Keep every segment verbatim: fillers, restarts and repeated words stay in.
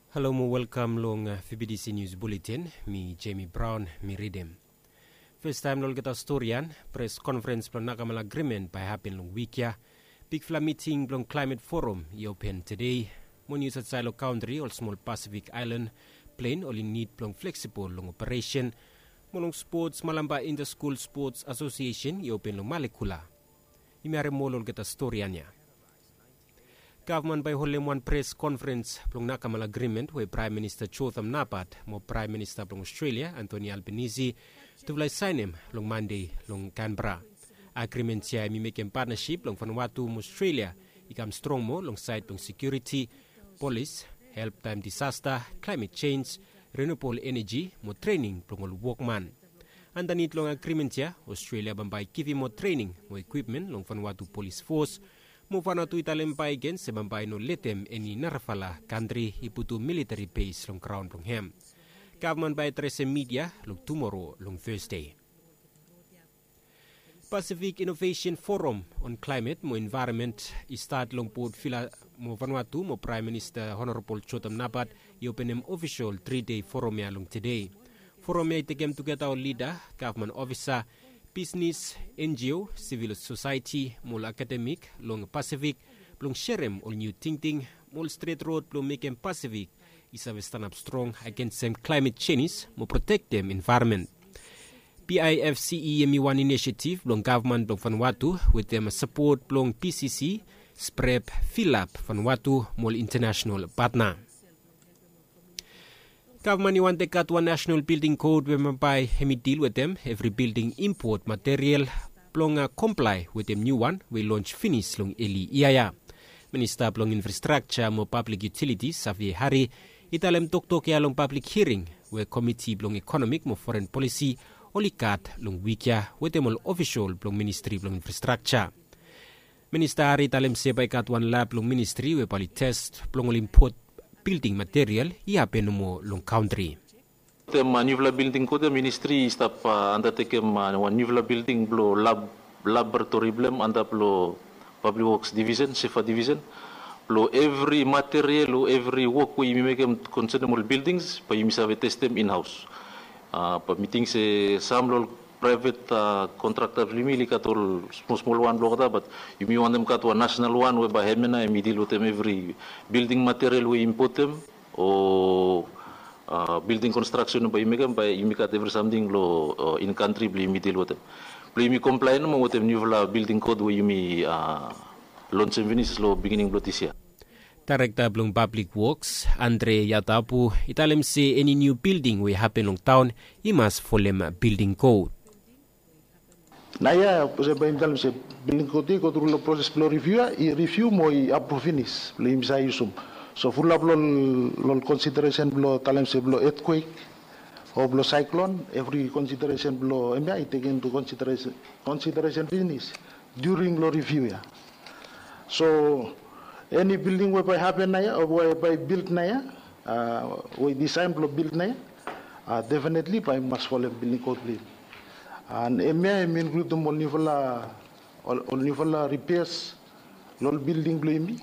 Halo mo welkam long V B T C News Bulletin. Mi Jamie Brown, mi ridim. Festaem long olgeta stori ya, pres konferens blong Nakamal Agrimen bae hapen long wik ya. Bigfala miting blong Klaemet Forum i open tede. Mo nius aotsaed long kantri, ol smol Pasifik aelan plen oli nid blong fleksibol long operesen. Mo long spots, Malampa Intaskul Spots Asosiesen i open long Malekula. Yumi harem ol olgeta stori ya. Gavman bae holem wan pres konferens blong Nakamal Agrimen we Praem Minista Jotham Napat mo Praem Minista blong Australia Anthony Albanese tufala i saenem long Mande long Canberra. Agrimen ya hemi mekem patnasip blong Vanuatu mo Australia i kam strong moa long saed blong sekiuriti, polis, help taem disasta, klaemet jenj, renubol eneji mo trening blong ol wokman. Andanit long agrimen ya, Australia bambae i givim moa trening mo ekwipmen long Vanuatu Polis Fos. Mo Vanuatu i talem bakegen se bambae i no letem eni narafala kantri i putum militari bes long graon blong hem. Gavman bae adresem midia long tumoro long Thursday. Pacific Innovation Forum on Climate mo Environment i stat long Port Vila mo Vanuatu mo Praem Minista Honorabol Jotham Napat i openem ofisol tri dei forum ya long tede. Forum ya i tekem tugeta ol lida, gavman ofisa, bisnis, N G O, sivil sosaeti mo ol akademik long Pasifik blong serem ol niu tingting mo ol stret rod blong mekem Pasifik i save stanap strong agensem klaemet jenis mo protektem envaeronmen. P I F C E hemi wan inisiativ blong gavman blong Vanuatu wetem sapot blong P C C, SPREP, Filap Vanuatu mo ol intanasenal patna. Gavman i wantem gat wan nasenal bilding kod we bambae hemi dil wetem evri bilding impot material blong komplae wetem niuwan we i lons finis long eli yia ya. Minista blong Infrastrakja mo Pablik Yutilitis, Xavier Harry, i talem toktok ya long pablik hiring we Komiti blong Ekonomik mo Foren Polisi oli gat long wik ya wetem ol ofisol blong Ministri blong Infrastrakja. Minista Harry i talem se bae i gat wan lab long ministri we bae oli tes blong ol impot bilding material i hapen nomo long kantri. Wetem niufala bilding kod ya ministri i stap andatekem wan niufala bilding blong lab, laboratori blong hem antap long Pablik Woks Divisen, SEFA Divisen, blong evri material o evri wok we yumi mekem konsenem ol bildings bae yumi save testem inhaos. Bae mi ting se sam long ol praevet kontrakta blong yumi oli gat ol smol smol wan blong olgeta, bat yumi wantem gat wan nasenal wan we bae hem ya nao hemi dil wetem evri bilding material we i impotem o bilding konstraksen we bae i mekem, bae yumi gat evri samting long in kantri blong yumi dil wetem, blong yumi komplae nomo wetem niufala bilding kod we yumi lonsem finis long bigining blong dis yia. Daerekta blong Pablik Woks, Andre Yatapu, i talem se eni niu bilding we i hapen long taon i mas folem bilding kod. Naoia olsem bae yumi talem se bilding kod ya i gotru long proses blong riviu ya, i riviu mo i apruv finis blong yumi save yusum. So fulap long ol konsideresen blong talem se blong etkwek o blong saeklon, evri konsideresen blong hemia i tekem intu konsideresen finis during long riviu ya. So eni bilding we bae hapen naoia o we bae bilt naoia we i disaen blong bilt naoia, definitli bae i mas folem bilding kod blong yumi. An hemia hemi inkludim ol niufala, ol niufala ripeas long ol bilding blong yumi,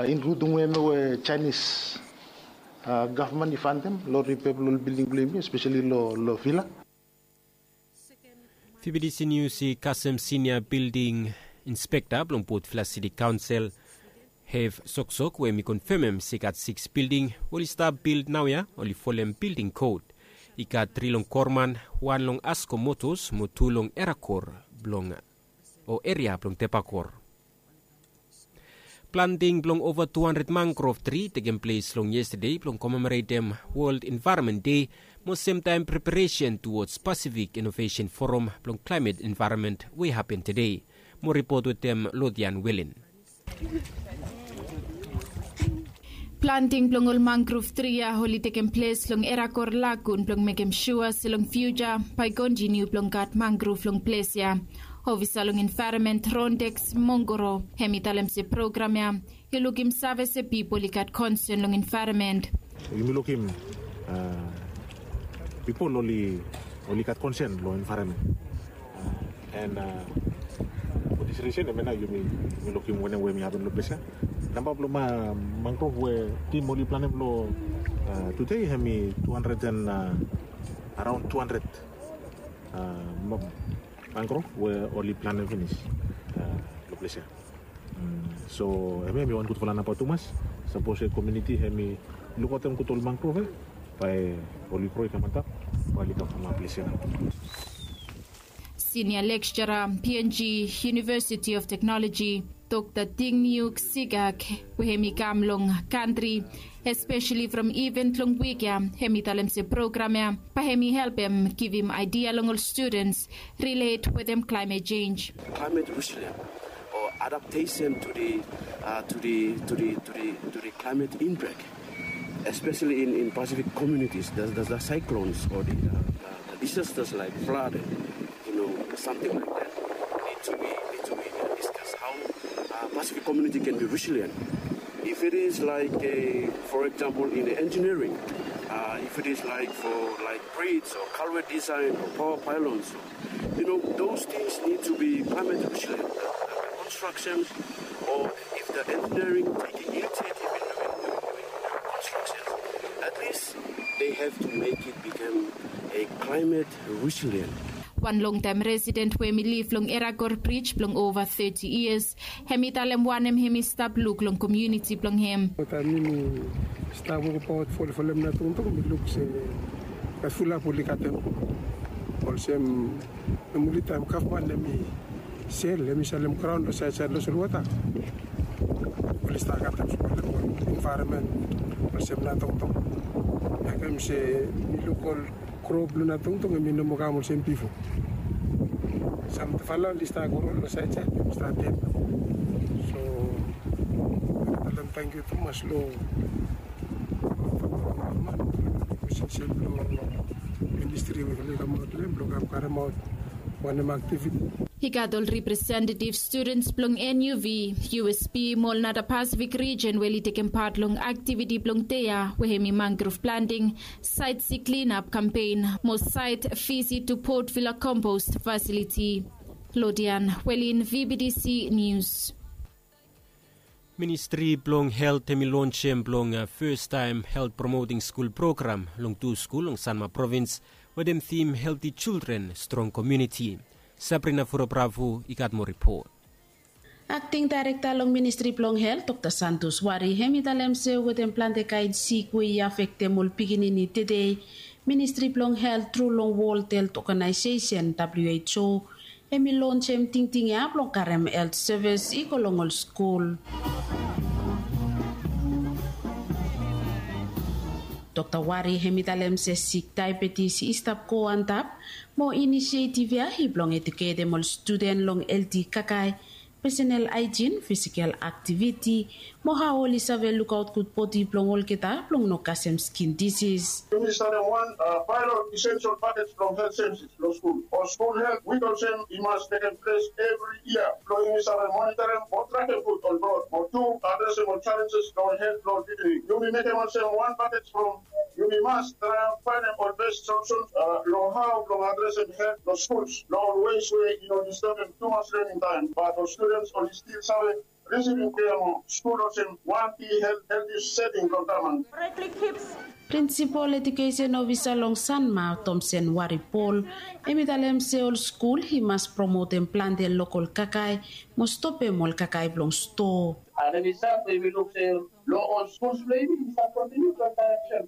inkludim hemia we Jaenis gavman i fantem long ripea blong ol bilding blong yumi, espeseli long Vila. V B T C Nius i kasem sinia bilding inspekta blong Port Vila Siti Kaonsel, Hef Soksok, we hemi konfemem se i gat sikis bilding we oli stap bilt naoia oli folem bilding kod. I gat tri long Korman, wan long Asko Motos mo tu long Erakor blong, o eria blong Tepakor. Planting blong ova tu handred mangrov tri i tekem ples long yestade blong komemoretem Wol Envaeronmen Dei mo semtaem preparesen tuwods Pasifik Inovesen Foram blong Klaemet Envaeronmen we i hapen tede. Mo ripot wetem Lodian Welen. Planting blong ol mangrov tri ya oli tekem ples long Erakor Lagun blong mekem sua se long fiuja bae i kontiniu blong gat mangrov long ples ya. Ofisa long envaeronmen Rondex Mongoro, hemi talem se program ya i lukim save se pipol i gat konsen long envaeronmen. Yumi lukim pipol oli, oli gat konsen long envaeronmen. An for this reason hemia nao yumi, yumi lukim wanem we hemi hapen long ples ya. Namba blong mangrov we tim oli planem long tude hem i tu handred and araon tu handred mangrov we oli planem finis long ples ya. So hem ya hem i wan gudfala namba tumas. Sapos e kominiti hem i lukaotem gud ol mangrov ya, bae oli gro i kam antap, bae oli kam antap long ples ya. Senior lecturer, P N G, University of Technology, Dr Dingniuk Sigak, we hem i kam long kantri, especially from event long wik ya, hem i talem se program ya bae hem i helpem givim idea long ol students relate wetem climate change. Climate resilient or adaptation to the uh, to the to the to the to the climate impact, especially in, in Pacific communities. There's, there's the cyclones or the, uh, the disasters like flood, you know, something like that. Need to be need to be uh, discussed how uh, Pacific community can be resilient. If it is like, a, for example, in the engineering, uh, if it is like for like bridge or culvert design or power pylons, you know, those things need to be climate resilient. The, the constructions or if the engineering taking initiative in doing, doing, doing constructions, at least they have to make it become a climate resilient. Wan longtaem resident we hem i liv long Eragor Bridge blong ova thirty years, hem i talem wanem hem i stap luk long komuniti blong hem. Taem mi stap wokabaot fo folem na tongtong mi luk se gat fulap oli gatem. Olsem, nomali taem gavman hem i sel, hem i salem graon long saedsaed long solwota, oli stap gatem fulap envaeronmen olsem na tongtong. Mekem se mi luk ol gro blong na tongtong hem i no moa kam olsem bifo. Samfala oli stap gro long saedsaed, hem i stap ded. So talem tangkiu tumas long gavman, posisen blong ministri we oli kamaot long hem blong kam karemaot wanem aktiviti. I gat ol representative students blong N U V, U S P mo ol nara Pasifik rijen we oli tekem pat long aktiviti blong dei ya, we hem i mangrov planting, site C clean up kampen mo site visit to Port Vila compost facility. Lodian Welin, V B T C News. Ministri blong Helt hem i lonsem blong fastaem Helt Promoting School program long tu skul long Sanma provins, wetem tim Healthy Children, Strong Community. Sabrina Furo Bravo i gat moa ripot. Akting daerekta long ministri blong Helt, Dokta Santos Wari, hem i talem se wetem plante kaen sik we i afektem ol pikinini tede, ministri blong Helt tru long World Health Organization, W H O, hem i lonsem tingting ya blong karem helt sevis i go long ol skul. Dokta Wari hem i talem se sik daebetis i stap go antap, mo inisietiv ya i blong eduketem ol studen long helti kakae, pesenel aejin, fisikel aktiviti, mo hao oli save lukaot gud bodi blong olgeta blong no kasem skin disis. Yumi saem wan paelot isensel pakej blong helt sevis long skul o skul helt wik olsem i mas tekem ples evri yia blong yumi save monitorem mo trakem gud ol blod mo tu adresem ol jalenjes long ol helt blong ol pikinini. Yumi mekem olsem wan pakej blong yumi mas traem faenem ol bes solusen long hao blong adresem helt long skuls long ol wes we i no distebem tumas lening taem bat ol studens oli stil save risivim kea mo skul olsem wan ki helti seting blong gavman. Prinsipol edukesen ofisa long Sanma, Tomsen Wari Pol, hem i talem se ol skul i mas promotem plante lokol kakae mo stopem ol kakae blong stoa. Ane mi save we yumi luk se long ol skuls blong yumi i save kontiniu blong kaem olsem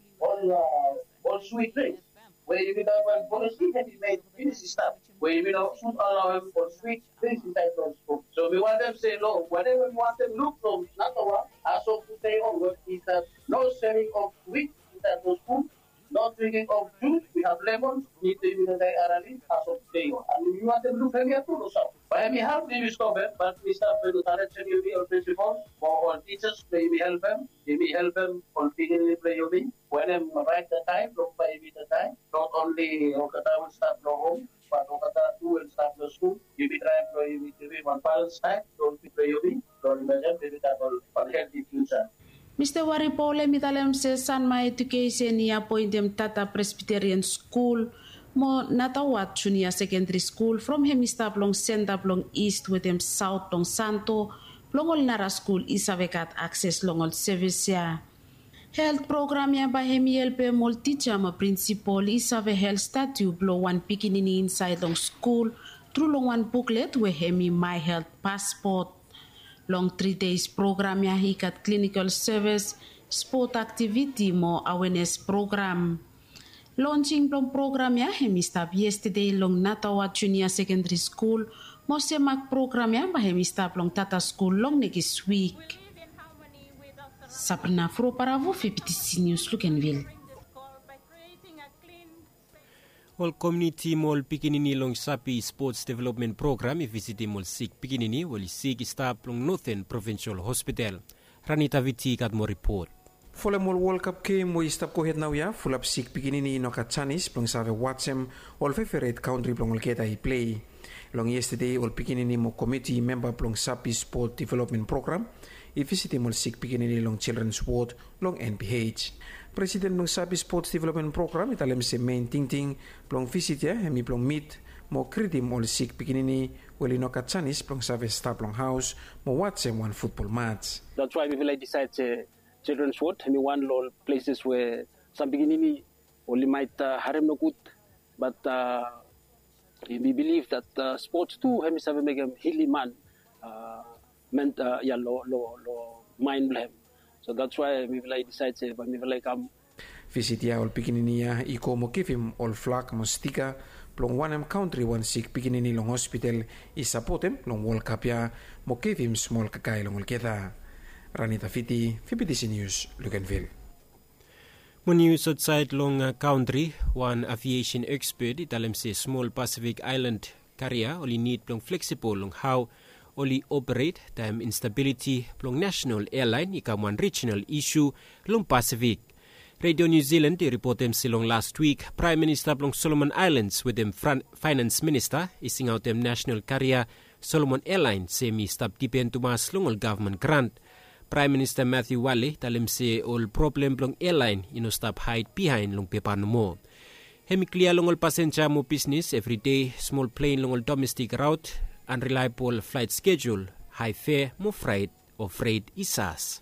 ol swit drinks we yumi gat wan polisi hem i mekem finis i stap we yumi no sud alaoem ol swit drinks insaed long skul. So mi wantem se long wanem we mi wantem luk long namba wan, as of tude onward, is that no selling of swit insaed long skul, no drinking of juice. We have lemon, nid we yumi no dai arali as of tude on. And mi wantem luk hemia tu long saut. Bae hemi help yumi stop hem, bat mi stap blong challenge yumi ol principals mo ol teachers blong yumi helpem, yumi helpem ol pikinini blong yumi wenem raet taem blong bae yumi taem. Not only olgeta we stap long hom, bat olgeta tu we stap long skul. Yumi traem blong yumi givim wan balans taem long ol pikinini blong yumi blong mekem yumi gat ol helti fiuja. Mista Wari Pol hem i talem se Sanma Edukesen i apoentem Tata Presbiterian Skul mo Natawat Junia Sekendri Skul from hem i stap long senta blong Ist wetem Saot blong Santo blong ol nara skul i save gat akses long ol sevis ya. Helt program ya bae hem i helpem ol tija mo prinsipol i save helt statu blong wan pikinini insaed long skul tru long wan buklet we hem i my helt paspot. Long tri deis program ya i gat klinikol sevis, spot aktiviti mo awenes program. Lonsing blong program ya hem i stap yestede long natawa junia sekendri skul, mo semak program ya bae hem i stap long tata skul long nekis wik. Sabrina froparavo fifiti sinius lukenvil. Ol komiuniti mo ol pikinini long sapi spots developmen program i visitim ol sik pikinini we oli sik i stap long noten provinsol hospital. Ranita viti i gat moa ripot. Folem ol wolkap gem we i stap gohed naoia, fulap sik pikinini i no gat janis blong save wajem ol feveret kantri blong olgeta i plei. Long yestede ol pikinini mo komiti memba blong sapi spot developmen program i visitim ol sik pikinini long jildrens wod long nph. Presiden blong sapi spots developmen program i talem se mein tingting blong visit ya hem i blong mit mo gritim ol sik pikinini we oli no gat janis blong save stap long haos mo wajem wan futbol mats. That's why mifala i disaed se children's ward hem i wan long ol places we sam pikinini oli maet harem nogud. Bat mi biliv dat spots tu hem i save mekem hilim man ya long maen blong hem. So dats wae mifala i disaed se bae mifala i kam. Visit ya ol pikinini ya i go mo givim ol flag mo stika blong wanem kantri wan sik pikinini long hospital i sapotem long wolkap ya mo givim smol kakae long olgeta. Ranita fiti fibitisi nius lukenvil. Mo nius aotsaed long kantri, wan aviesen ekspet i talem se smol pasifik aelan karia oli nid blong fleksibol long hao oli operet taem instabiliti blong nasenal ealaen i kam wan rijinal isu long pasifik. Redio niu silan i ripotem se long lastwik praem minista blong solomon aelans wetem faenans minista i singaotem nasenal karia solomon ealaen se hem i stap dipen tumas long ol gavman grant. Praem minista matiu wale i talem se ol problem blong ealaen i no stap haed bihaen long pepa nomo. Hem i klia long ol pasenja mo bisnes evride, smol plen long ol domestik raot, anrelaebol flaet skejul, hae fea mo fraet o fret i sas.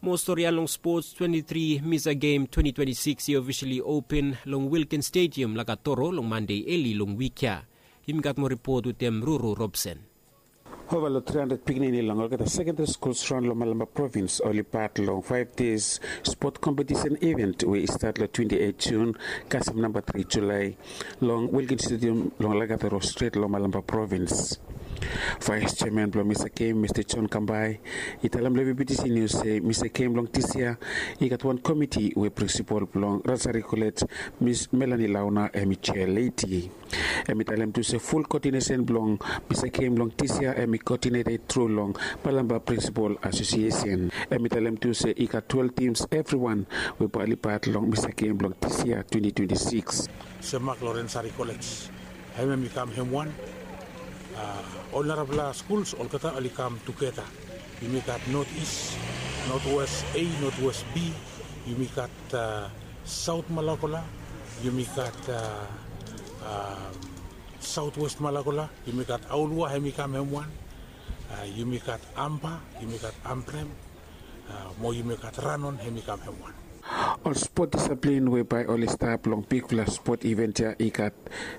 Mo stori ya long spots, twenti tri misa gem twenti twenti sikis i ofisali open long wilkin stediam lakatoro long mande eli long wik ya. Yumi gat moa ripot wetem ruru robson. Ova long tri handred pikinini long olgeta sekendari skuls raon long malamba provins oli pat long faef des spot kompetisen iven we i stat long twenti eit jun kasem namba tri julae long wilkin stediam long lakatoro stret long malamba provins. Vaes jeaman blong misa gem mista john kambae i talem long vptc nius se misa gem blong dis yia i gat wan komiti we prinsipol blong rasari kolej mis melani launa hem i jea leti. Hem i talem tu se ful koodinesen blong misa gem blong dis yia hem i koodineted tru long palamba prinsipol asosiesen. Hem i talem tu se i gat twelve tims evriwan we bae oli pat long misa gem blong dis yia twenti twenti sikis. Semak long rensari kolej hem hem i kam hem wan. Ol narafala skuls olgeta oli kam tugeta. Yumi gat not is, not wes a, not wes b. Yumi gat saot malakola, yumi gat saot wes malakola, yumi gat aolua hem i kam hem wan. Yumi gat ampa, yumi gat amprem, mo yumi gat ranon hem i kam hem wan. Ol spot disaplin we bae oli stap long bigfala spot iven ya i gat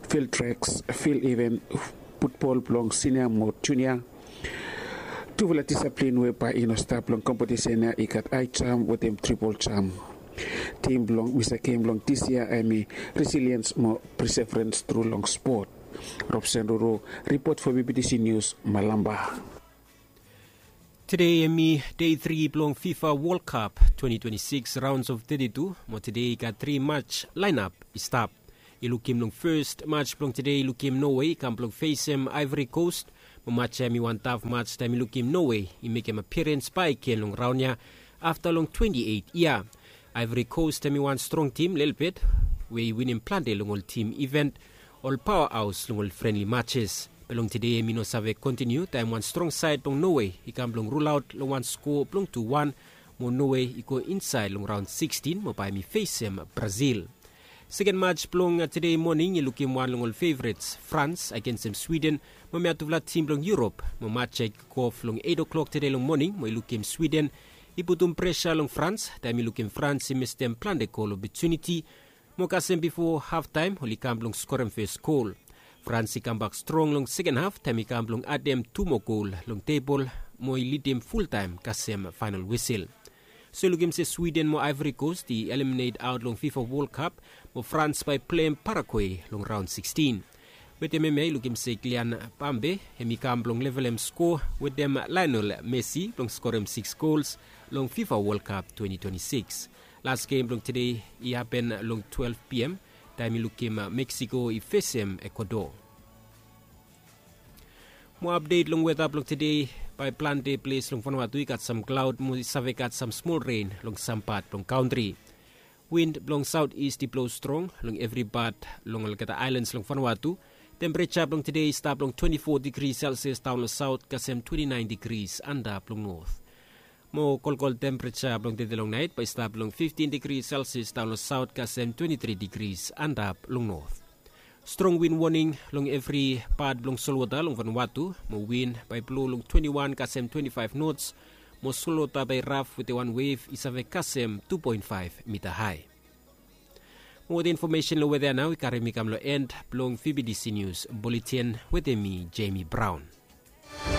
fil treks, fil iven, futbol blong sinia mo junia. Tufala disaplin we bae i no stap long kompetisen ya i gat aejam wetem tripol jam. Tim blong misa gem blong dis yia hem i resiliens mo preseferens tru long spot. Robsen ruru, ripot fo vptc nius, malamba. Tede hem i dei tri blong fifa wolkap twenti twenti sikis raons of teti tu, mo tede i gat tri mats laenap i stap. I lukim long fes mats blong tede i lukim nowe i kam blong fesem aevri kost. Mo mats ya hem i wan taf mats taem i lukim nowe i mekem apirens baek gen long raon ya afta long twenti eit yia. Aevri kost hem i wan strong tim lelebet we i winim plante long ol tim iven, ol paoa haos long ol frenli matses. Be long tede hem i no save kontiniu taem wan strong saed blong nowe i kam blong rulaot long wan skoa blong tu wan, mo nowe i go insaed long raon sikstin mo bae hem i fesem brazil. Seken maj blong tede moning i lukim wan long ol fevrets, Frans agensem Swiden, mo mi a tufala tim blong Yurop. Mo maj ya i kikof long eit o'klok tede long moning mo i lukim Swiden i putum presa long Frans, taem i lukim Frans i mistem plante gol opotuniti. Mo kasem bifo haftaem oli kam blong skorem fes gol. Frans i kambak strong long seken haf taem i kam blong adem tu moa gol long tebol mo i lidim fultaem kasem faenol wisil. So i lukim se Swiden mo Aevori Kos i eliminate aot long Fifa Wol Kap, mo Frans bae i pleim Paragwe long raon sikstin. Wetem hemia i lukim se Kilian Pambe hem i kam blong levelem skoa wetem Laenol Mesi blong skorem siks gols long Fifa Wol Kap twenti twenti siks. Las gem blong tede i hapen long twelef piam taem i lukim Meksiko i fesem Ekuador. Mo apdet long weta blong tede, bae plante ples long Vanuatu i gat sam klaod mo i save gat sam smol ren long sam pat blong kantri. Win blong saot ist i blo strong long evri pat long olgeta aelans long Vanuatu. Tempereja blong tede i stap long twenti fo digri selsias daon long saot kasem twenti naen digris antap long not. Mo kolkol tempereja blong tede long naet bae i stap long fiftin digri selsias daon long saot kasem twenti tri digris antap long not. Strong win woning long evri pat blong solwota long Vanuatu, mo win bae i blo long twenti wan kasem twenti faef nots, mo solwota bae i raf wetem wan wev i save kasem tu poen faef mita hae. Mo wetem infomesen long weta ya nao i karem mi kam long en blong VBTC Nius Buletin wetem mi, Jemi Braon.